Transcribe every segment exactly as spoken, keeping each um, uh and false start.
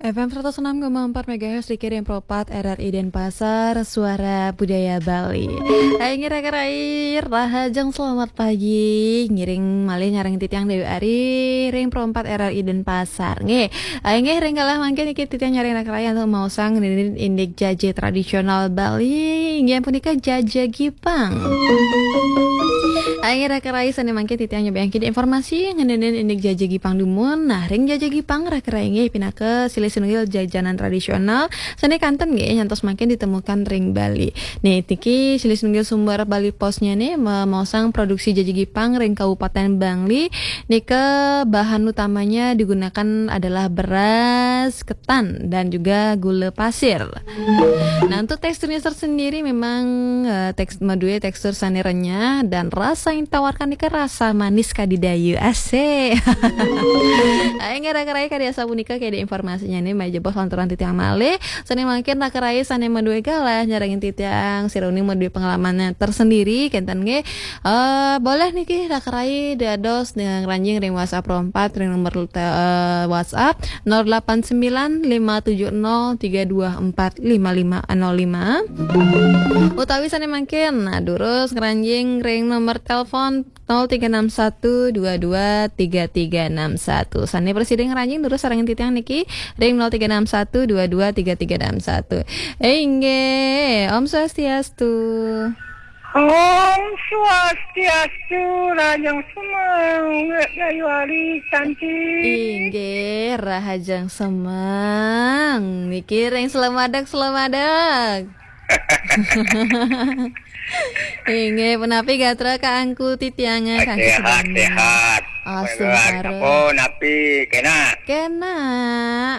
F M seratus enam koma empat megahertz di Kirim Propat R R I Denpasar, Suara Budaya Bali. Hai, ngira kerai, rahajeng selamat pagi. Ngiring malih nyareng titiang Dewi Ari ring Propat R R I Denpasar. Nggih. Hai, nggih, ring kalah mangkin niki titiang nyareng kerai antuk maosang ngenenin indik jaje tradisional Bali. Inggih punika jaje Gipang. Hai, nggih, kerai sane mangkin titiang nyobiahang kadi informasi ngenenin indik jaje Gipang dumun. Nah, ring jaje Gipang, kerai, nggih, pinaka silih sinunggil jajanan tradisional sane kantun, nggih, nyantos mangkin ditemukan ring Bali. Nih, niki silih sinunggil sumber Bali Postnya nih, ma-, maosang produksi jaje Gipang ring Kabupaten Bangli. Nika bahan utamanya digunakan adalah beras ketan dan juga gula pasir. Nah, untuk teksturnya tersendiri memang, eh, teks-, madue tekstur sane renyah dan rasa yang ditawarkan nika rasa manis kadidayu. Asik. Ayo, ngira kerai kadi asapunika kadi informasinya nih, meja bos lantaran titiang malih. Sane mangkin kerai sane madue galah nyarengin titiang, sira uning madue pengalaman tersendiri, kenten nggih. Eh, boleh niki kerai dados dengan ranjing ring WhatsApp Propat ring nomor te-, eh, WhatsApp nol delapan sembilan lima tujuh nol tiga dua empat lima lima nol lima. Utawi sane mangkin, nah, durus ngranjing ring nomor telepon nol tiga enam satu dua dua tiga tiga enam satu. Sane prasida ngranjing durus sareng titiang niki ring nol tiga enam satu dua dua tiga tiga enam satu. Eh, inggih, Om Swastiastu. Om Swastiastu, rahajeng semeng, Wek Dayu Ari cantik. Inggih, rahajeng semeng. Niki ring Slemadeg, Slemadeg. Inggih, punapi gatra kaangku titiangan, Kang Sehat, Sugeng? Sehat. Asung Wah, sareng. Sampun, napi, kena? Kena,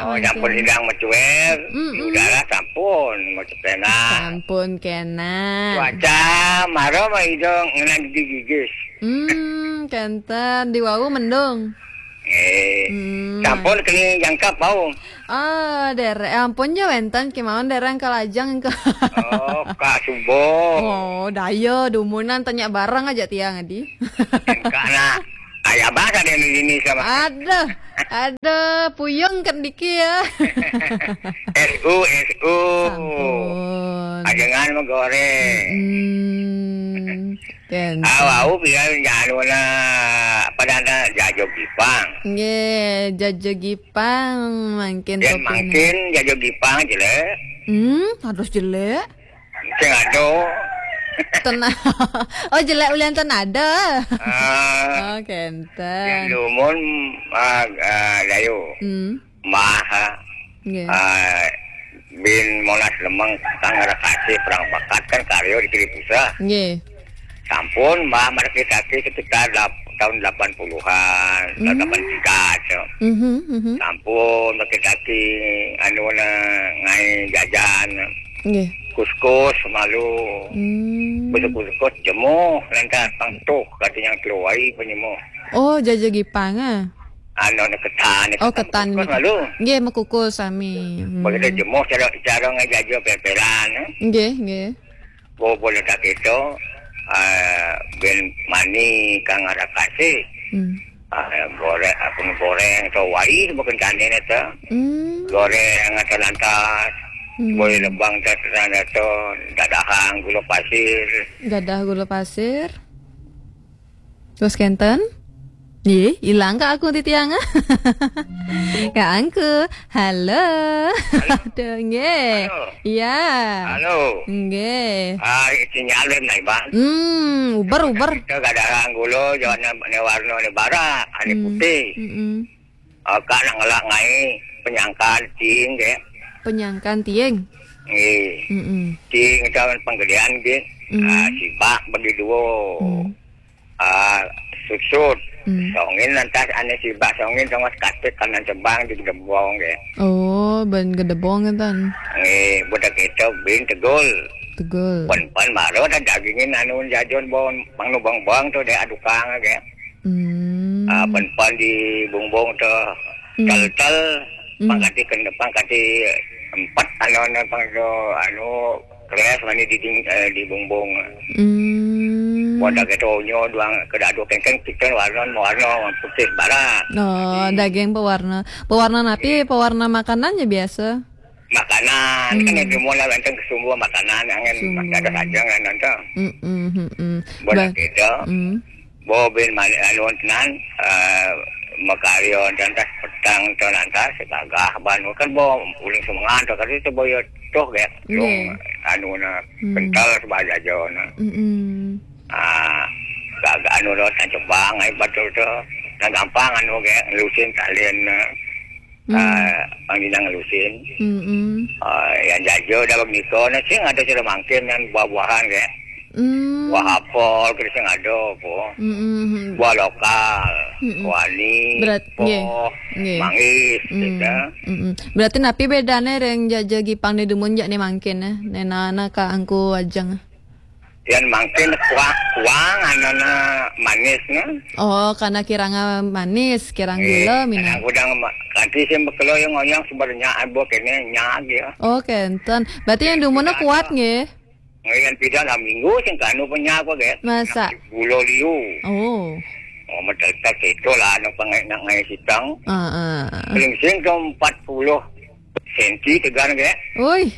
Oh, mangkin. Sampun sidang macuer, Mm-mm. Di udara sampun, macuer kena. Sampun kena. Cuaca, mara mah ijo ngenan digigis. Hmm, kenten, di wau mendung. Eh, Hmm. Sampun keni jangkap bau. Ah, dere-, ampun ja wenten kemawon dereng kalajeng ke. Oh, Kak Subo. Oh, daya dumunan tanya barang aja tiang adi. Kak na. Aya bahasa di Indonesia mah. Aduh, aduh, puyeng kendiki ya. S U, S U. Sampun. Ajengan mah goreng. Mm-mm. Kenten. Ah, wau biar anu na pada ada jajo Gipang. Nggih, jajo Gipang mangkin. Yen topina. Mangkin jajo Gipang jelek. Hmm, harus jelek. Sing ado. Ten-, oh, jelek ulian ten ada. Ah. Oh, kenten. Yen dumun, ah, ah, Dayu. Hmm. Mbah, ah. Nggih. Ah, bin Monas Lemeng, Kang Rakasih, Perang Bakat kan karya di Kiri Pusat. Nggih. Sampun, Mbah, mereka sekitar dap-, tahun delapan puluhan, tahun Hmm. delapan tiga, so. Mhm, mhm. Sampun, mereka anu na ngai jajan. Nggih. Kuskus, malu. Hmm. Besok kuskus, jemuh, lantas pangtuh, katanya keluar, penyemuh. Oh, jaja Gipang, ah? Anu, anu ketan, Oh, ketan ketan kuskus, niki. Malu. Nggih, mekukus sami. Hmm. Begitu jemuh, cara, cara ngai jaja peperan, eh. Nggih, nggih. Bobo letak itu, eh, bin mani, Kang Rakasih. Hmm. Ah, goreng, apa goreng, atau wai, bukan kandin itu. Hmm. Goreng atau lantas, Hmm. Boleh lebang, atau, atau dadahang, gula pasir. Gadah gula pasir. Terus kenten? Ih, ilang ka aku titiang. Ka angku. Halo. Halo. Aduh, nggih. Halo. Iya. Halo. Nggih. Ah, sinyal naik, Bang. Hmm, uber, uber. Kita kadang gula, jangan ne warna ne bara, ane Hmm. Putih. Mm-mm. Ah, kak nak ngelak ngai penyangkan ting, nggih. Penyangkan ting. Nggih. Mm-mm. Ting itu penggedean, nggih. Hmm. Ah, sibak bagi dua. Hmm. Ah, susut. Hmm. Songin lantas ane sibak songin sama sekatik kanan tebang di gedebong, nggih. Oh, ban gedebong ngeten. Nggih, budak itu bin tegul. Tegul. Pan-pan baru ada dagingin anu jajon bawang, pang nu bawang-bawang tu dia adukang, nggih. Hmm. Ah, pan-pan di bumbung tu Hmm. tel-tel, Hmm. pangkati kena, pangkati empat anu, anu, pang tu, anu, keras mani di ding-, eh, di bumbung. Hmm. Mun daging tonyo doang, kada ado kengkeng, chicken warna, warna putih barak. Oh, daging pewarna. Pewarna napi? Pewarna makanannya biasa. Makanan, kan di mall lah, wénten ke sumber makanan, angin masih ada saja kan, nonton. Mm-mm, mm-mm. Buat kita, mm. Bo bin malik anu tenan, eh, makarya lantas petang tu lantas, gagah ban, kan bo uling semengan tu, kali tu bo ya toh, ya. Nggih. Anu na, kental sebab jaja na. Mm-mm. Ah, gagah anu tu, tan cebang, ai, batul tu. Nah, gampang anu, ya, ngelusin talin na. Hmm. Ah, pang dina ngelusin. Mm-mm. Ah, yang jaja dah begitu, na sing ada cara mangkin yang buah-buahan, ya. Hmm. Buah apel, kita sing ada apa. Mm-mm. Buah lokal, mm-mm. Kuali, berat, nggih. Poh, nggih. Manggis, mm, gitu. Mm-mm. Berarti napi bedane ring jaja Gipang ni dumun jak ni mangkin, eh? Nena na ka angku ajeng. Yang mangkin kuah, kuang, anana manis, nah. Oh, karena kirang, eh, manis, kirang gula, mina. Kadang udang ma-, kanti sing bekelo yang ngoyang sebenarnya abu kene nyag ya. Oh, kenten. Berarti yang dumunnya kuat, nggih? Ngayan pida lah minggu sing kanu penyapa, ge. Masa? Gulo liu. Oh. Oh, mendekat itu lah, nak pengai, nak ngai sitang. Ah, ah. Paling sing tu empat puluh senti tegar, ge. Oi.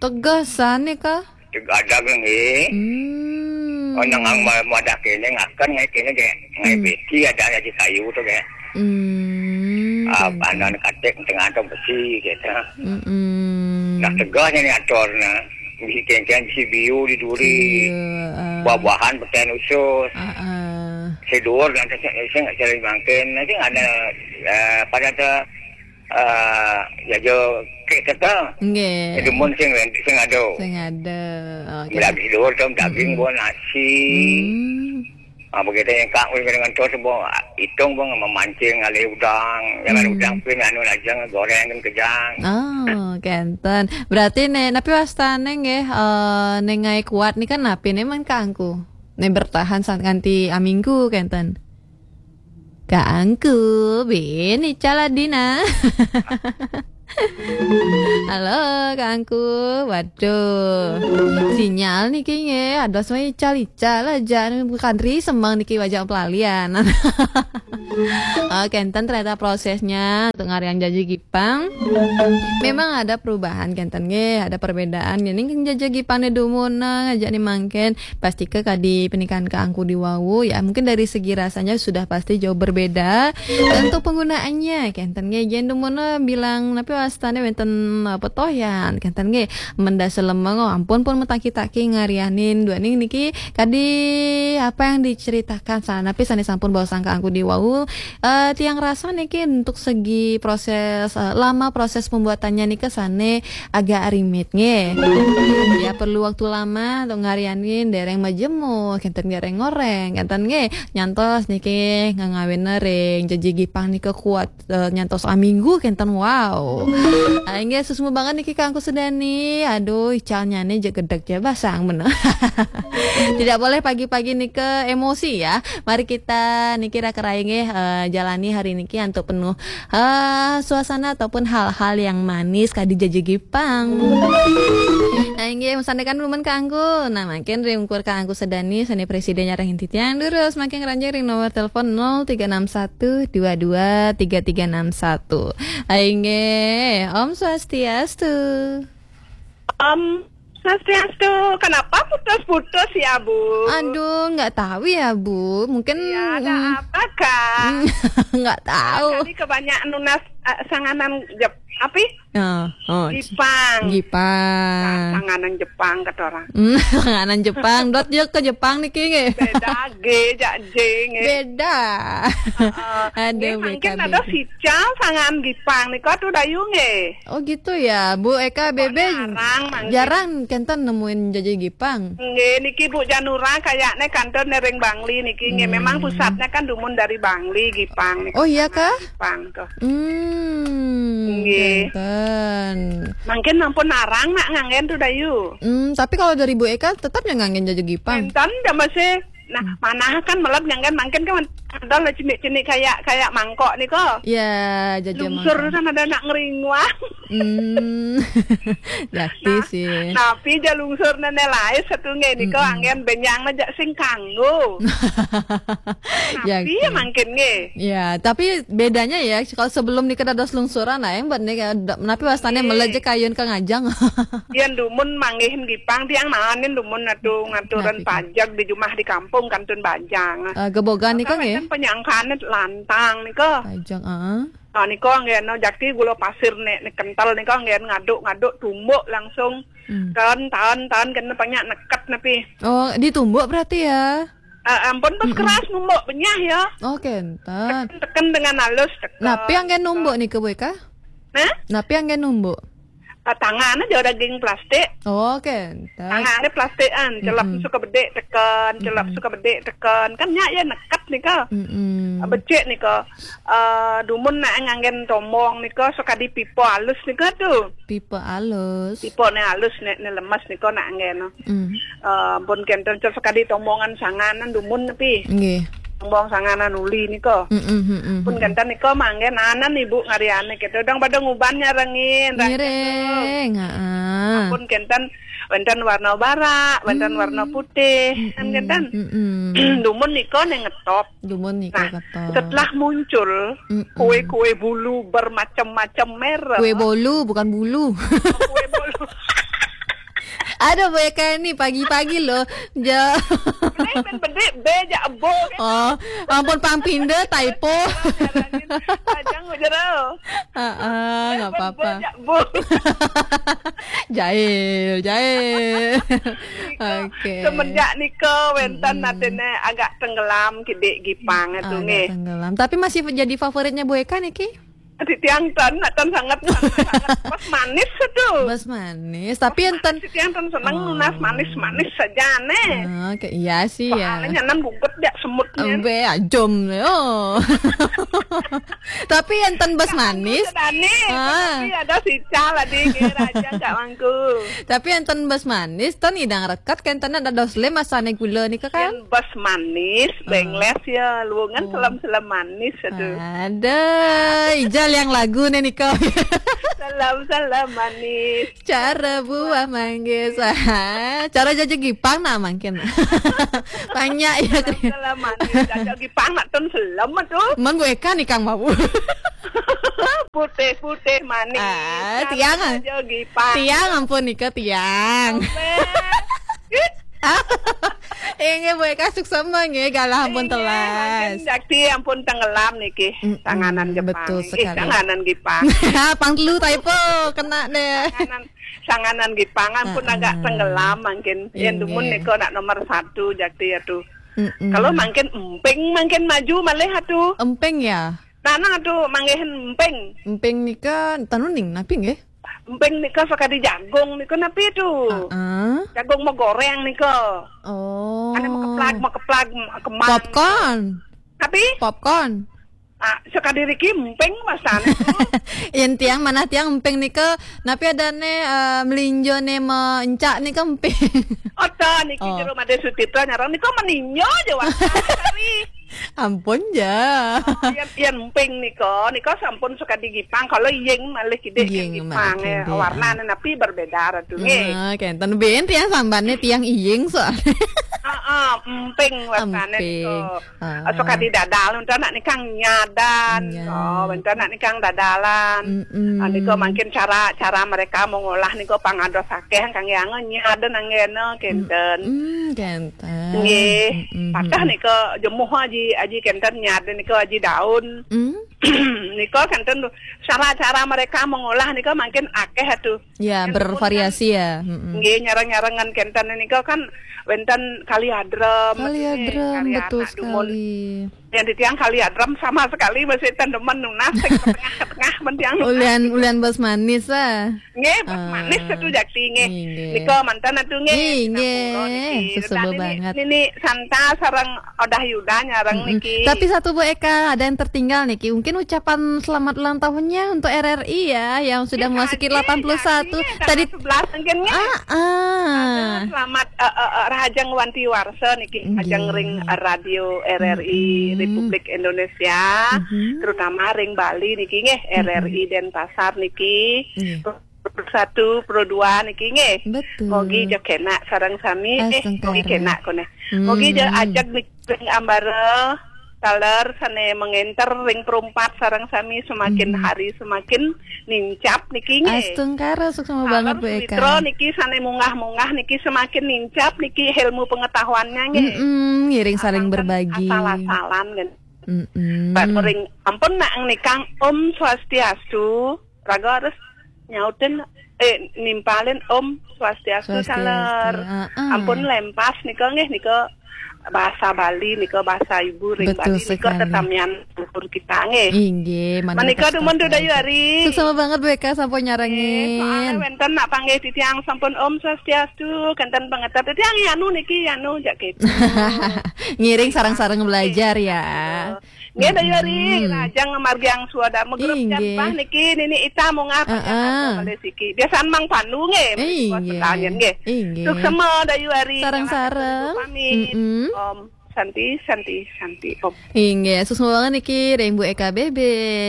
Tegasan ni kah? Tegadag nggih. Hmm. Oh, nang ang ma-, madah kene ngakan ngai kene, ge. Ngai besi ada aja kayu tu, ge. Hmm. Ah, panan katik tengah tu besi, gitu. Mm-mm. Nah, tegasnya ni atur, nah. Bisi kengkeng, bisi biu di duri. Iya, ah. Buah-buahan, peten usus. Ah, ah. Sedur, nanti saya, saya nggak cari mangkin. Nanti ada, eh, pada tu, eh, ya, jo, kek kata. Nggih. Demun sing, sing ada. Sing ada. Oh, okey. Lagi sedur tu, daging, mm-mm, buah nasi. Hmm. Ah, begitu yang kak, dengan tu, semua hitung pun memancing, alih udang. Jangan, hmm, udang pun, anu, aja goreng kan kejang. Oh, kenten. Berarti ne, napi wastane nggih, eh, ne ngai kuat ni kan napi ne man kaangku? Ne bertahan sa-, nganti aminggu kenten. Kaangku, bin ical adina. Halo, kaangku. Waduh. Sinyal niki nggih, ada semua ical-ical aja. Bukan ri semang niki wajah pelalian. Oh, kenten ternyata prosesnya untuk ngariang jaji Gipang. Memang ada perubahan, kenten nggih, ada perbedaan. Ini kan jaji Gipang ni dumun, nah, ngajak ni mangkin. Pasti ke kadi pernikahan kaangku di wau, ya, mungkin dari segi rasanya sudah pasti jauh berbeda. Dan untuk penggunaannya, kenten nggih, yen dumun bilang, napi wastane wenten, eh, petoyan, kenten nggih, menda selemeng, oh, ampun pun metaki-taki ngarianin, duaning niki kadi apa yang diceritakan, sa-, napi sane sampun baosang kaangku di wau, eh, tiang rasa niki untuk segi proses, eh, lama proses pembuatannya nika sane agak rumit nggih. Ya, perlu waktu lama untuk ngarianin, dereng majemur, kenten dereng ngoreng, kenten nggih. Nyantos niki ngangawin ring jaji Gipang nika kuat, eh, nyantos aminggu kenten, wow. Ah, inggih, suksma banget niki kaangku sedani. Aduh, icalnya ni je gedeg je basang bener. Tidak boleh pagi-pagi nika emosi ya. Mari kita niki raka-raka nggih, eh, jalani hari niki antuk penuh, eh, suasana ataupun hal-hal yang manis kadi jaji Gipang. Nah, inggih, masandekan dumun kaangku. Nah, mangkin ring ungkur kaangku sedani, sane presiden nyarengin titiang durus, mangkin ngranjing ring nomor telepon nol tiga enam satu dua dua tiga tiga enam satu. Inggih, Om Swastiastu. Om Swastiastu. Kenapa putus-putus ya, Bu? Aduh, nggak tahu ya, Bu. Mungkin, ya, ada, mm, apa, Kak? Nggak tahu. Tadi kebanyakan nunas, eh, sanganan Jep-, apa? Oh, oh, Gipang. Gipang. Nah, sanganan Jepang, kata orang. Hmm, sanganan Jepang. Dot je ke Jepang niki nggih. Beda, G, jak J, nggih. Beda. Heeh. Ada nggih, mungkin B K B. Ada sical sanganan Gipang nika tu dayu nggih. Oh, gitu ya, Bu Eka. Kok Bebe jarang, mangkin. Jarang kenten nemuin jaji Gipang. Nggih, niki Bu Janura kayaknya kantornya ring Bangli niki, nggih. Hmm. Memang pusatnya kan dumun dari Bangli, Gipang niki. Oh, iya kah? Gipang tuh. Hmm, nggih. Kenten. Mangkin ampun arang nak nganggen tuh dayu. Hmm, tapi kalau dari Bu Eka tetap ya nganggen jaji Gipang. Kenten, ya masih. Nah, hmm, manah kan melet nganggen, mangkin kan Ada lah cenik-cenik kayak, kayak mangkok nika. Ya, jaja. Lungsur mangkok. Kan ada nak ngeringuang. Hmm. Jati sih. Napi ja lungsur nene lain satu nggih nika. Mm-mm. Anggen benyang aja sing kanggo. Napi ya mangkin nggih. Ya, tapi bedanya ya, kalau sebelum nika dados lungsuran, nah, yang buat nika, napi wastane meleje kayun ka ngajang. Yen dumun manggihin gipang, tiang naenin dumun atu ngaturan pajeg di jumah di kampung kantun bajang. Eh, gebogan nika nggih? Kan penyangkane lantang nika. Pajeg, heeh. Nah, nika nggih, no, jakti gula pasir nek, nek kental nika nggih ngaduk-ngaduk tumbuk langsung. Hmm. Taun, taun, taun kena banyak neket napi. Oh, ditumbuk berarti ya? Eh, ampun, terus keras numbuk benyah ya. Oh, kenten. Tekan, tekan dengan halus, tekan. Napi yang nggih numbuk nika, Bu Eka? Hah? Napi yang nggih numbuk? Ah, tangan aja daging plastik. Oh, kenten. Tangannya plastikan, celap suka bedik tekan, celap suka bedik tekan. Kan nyak ya neket nika. Mm-mm. Ah, becik nika. Eh, dumun nak nganggen tomong nika, suka di pipa halus nika tu. Pipa halus. Pipa ne halus, ne, ne lemes nika nak nganggen. Mm. Eh, pun kenten, cel sekadi tombongan sanganan dumun nepi. Nggih. Tombong sanganan uli nika. Mm-mm, mm-mm. Pun kenten nika manggen anan ibu ngariane kita. Dong pada nguban nyarengin. Ngiring, heeh. Pun kenten, wenten warna barak, wenten warna putih. Kan kenten. Mm-mm. Dumun nika ne ngetop. Dumun nika. Nah, ketok. Setelah muncul kue-kue bulu bermacam-macam merek. Kue bolu, bukan bulu. Kue bolu. Ada Bu Eka ini pagi-pagi loh. Ja. Ini ben bedik, be, ja, ebo, kan? Oh, ampun, pang pinda, typo. Panjang, jero. Heeh, nggak apa-apa. Be, ja, ebo. Jahil, jahil. Oke. Semenjak nika wenten atene agak tenggelam kidik gipang itu nggih. Agak tenggelam. Tapi masih jadi favoritnya Bu Eka niki? Di tiang ten, nak ten sangat, sangat, sangat. Bas manis itu. Bas manis. Tapi enten, di tiang ten seneng nunas manis-manis saja ne. Oke, iya sih ya. Soalnya nan buget jak semutnya. Embe ajom. Oh. Tapi enten bas manis. Sedane, tapi ada sical adi nggih raja Kak Mangku. Tapi enten bas manis, ten idang reket, kenten ada dos lem asane gula nika kan? Yen bas manis, bengles ya, luwungan selem-selem manis aduh. Ada, ijal yang lagu nih nika. Selem-selem manis. Cara buah manggis. Cara jaja gipang nah mangkin. Banyak ya. Selem-selem manis. Jaja gipang nak ten selem tuh. Mang gue kan ikang mau. Putih-putih manis. Ah, tiang. Jaja gipang. Tiang ampun nika tiang. Inggih Bu Eka, suksema nggih, galah ampun telas. Jakti ampun tenggelam niki. Tanganan gipang. Betul sekali. Tanganan gipang. Pang telu typo kena deh. Tanganan, tanganan gipang ampun agak tenggelam mangkin. Yen dumun nika nak nomor satu jakti ya tuh. Kalau mangkin emping mangkin maju malih atuh. Emping ya? Tanah tuh manggihin emping. Emping nika tanu ning napi nggih? Emping nika sakadi jagung nika napi tuh? Heeh. Jagung mau goreng nika. Oh. Ane mau keplak, mau keplak, mau keman. Popcorn. Tapi? Popcorn. Ah, sakadi riki emping masane tuh. Yen tiang manah tiang emping nika, napi adane, eh, melinjo ne mencak nika emping. Oto niki jero Made Sutito nyarang nika meninjo aja wae. Ampun ja. Oh, yen, yen emping nika, nika sampun sakadi gipang, kalau iying malih kidik yen gipang, eh, warnane napi berbeda ratu nggih. Ah, kenten ben tiang sambane tiang iying soalnya. Heeh, emping wastane nika. Ah. Sakadi dadal, enten nak nikang nyadan. Oh, enten nak nikang dadalan. Ah, nika mangkin cara, cara mereka mengolah nika pangados akeh kangge angen nyadan anggena kenten. Hmm, kenten. Nggih. Patah nika jemuh aji, aji kenten nyad nika aji daun. Nika kenten cara-cara mereka mengolah nika mangkin akeh atuh. Ya, bervariasi ya. Nggih, nyareng-nyarengan kenten nika kan wenten kali adrem. Kali adrem, betul sekali. Yang di tiang kali adrem sama sekali masih ten demen nunas sing ke tengah-ke tengah men tiang nunas. Ulian, ulian bas manis ah. Nggih, bas manis satu jakti nggih. Nggih. Nika mantan atuh nggih. Nggih, nggih. Sesebel banget. Nini Santa sareng Odah Yuda nyareng niki. Tapi satu Bu Eka, ada yang tertinggal niki. Mungkin ucapan selamat ulang tahunnya untuk R R I ya, yang sudah memasuki delapan puluh satu. Tadi sebelas mungkin nggih. Ah, ah. Selamat, eh, eh, eh, Rahajeng Wanti Warsa niki, Rahajeng ring, eh, Radio R R I. Republik Indonesia, terutama ring Bali niki nggih, R R I Denpasar niki. Pro satu, Pro dua niki nggih. Betul. Mogi ja kenak sareng sami, eh, mogi kenak koneh. Mogi ja ajeg niki ring ambara taler sane mengenter ring Pro empat sareng sami semakin hari semakin nincap niki nggih. Astungkara, suksma banget Bu Eka. Sawitra niki sane munggah-munggah niki semakin nincap niki ilmu pengetahuannya nggih. Mm-mm, ngiring saling berbagi. Asal-asalan kan. Mm-mm. Ring ampun nak nikang Om Swastiastu, raga harus nyautin, eh, nimpalin Om Swastiastu. Swastiastu, saler. Ampun lempas nika nggih, nika bahasa Bali, nika bahasa ibu ring Bali, nika tetamian luhur kita nggih. Inggih, menika dumun Dayu Ari. Suksma banget Bu Eka sampun nyarengin. Soalnya wenten nak panggih titiang sampun Om Swastiastu, kenten pangeter titiang yanu niki yanu jak gitu. Ngiring sareng-sareng belajar ya. Nggih, Dayu Ari, lajeng ngamargiang swadarma grup. Inggih. Jampah niki Nini Ita munggah panjang siki. Biasan Mang Pandu nggih, nggih. Suksma Dayu Ari. Sareng-sareng. Pamit. Om Santi, Santi, Santi, Om. Inggih, suksma banget niki ring Bu Eka B B,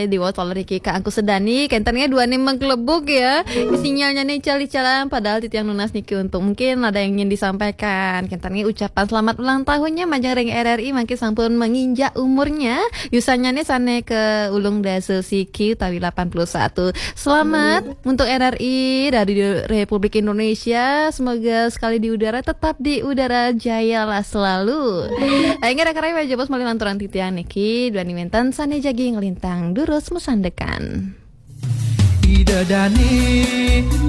diwaos taler niki Kak Angku Sedani, kenten nggih duaning mengklebuk ya. Sinyalnya nih cali-calan, padahal titiang nunas niki untuk mungkin ada yang ingin disampaikan. Kenten nggih ucapan selamat ulang tahunnya majeng ring R R I mangkin sampun menginjak umurnya. Yusannya nih sane ke ulung dasa siki utawi delapan puluh satu. Selamat untuk R R I, Radio Republik Indonesia. Semoga sekali di udara tetap di udara jaya lah selalu. Ayo, rekan-rekan, wajah bos malih lanturan titiang niki, duaning wenten sane jagi nglintang durus masandekan. Ida Dane.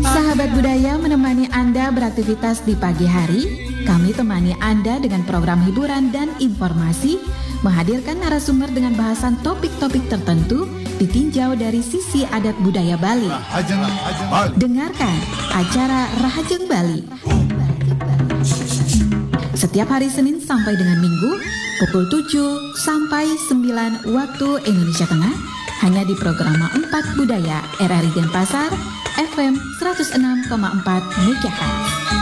Sahabat budaya menemani Anda beraktivitas di pagi hari. Kami temani Anda dengan program hiburan dan informasi, menghadirkan narasumber dengan bahasan topik-topik tertentu, ditinjau dari sisi adat budaya Bali. Rahajeng Bali. Dengarkan acara Rahajeng Bali. Setiap hari Senin sampai dengan Minggu, pukul tujuh sampai sembilan waktu Indonesia Tengah, hanya di Programa empat Budaya R R I Denpasar, F M seratus enam koma empat megahertz.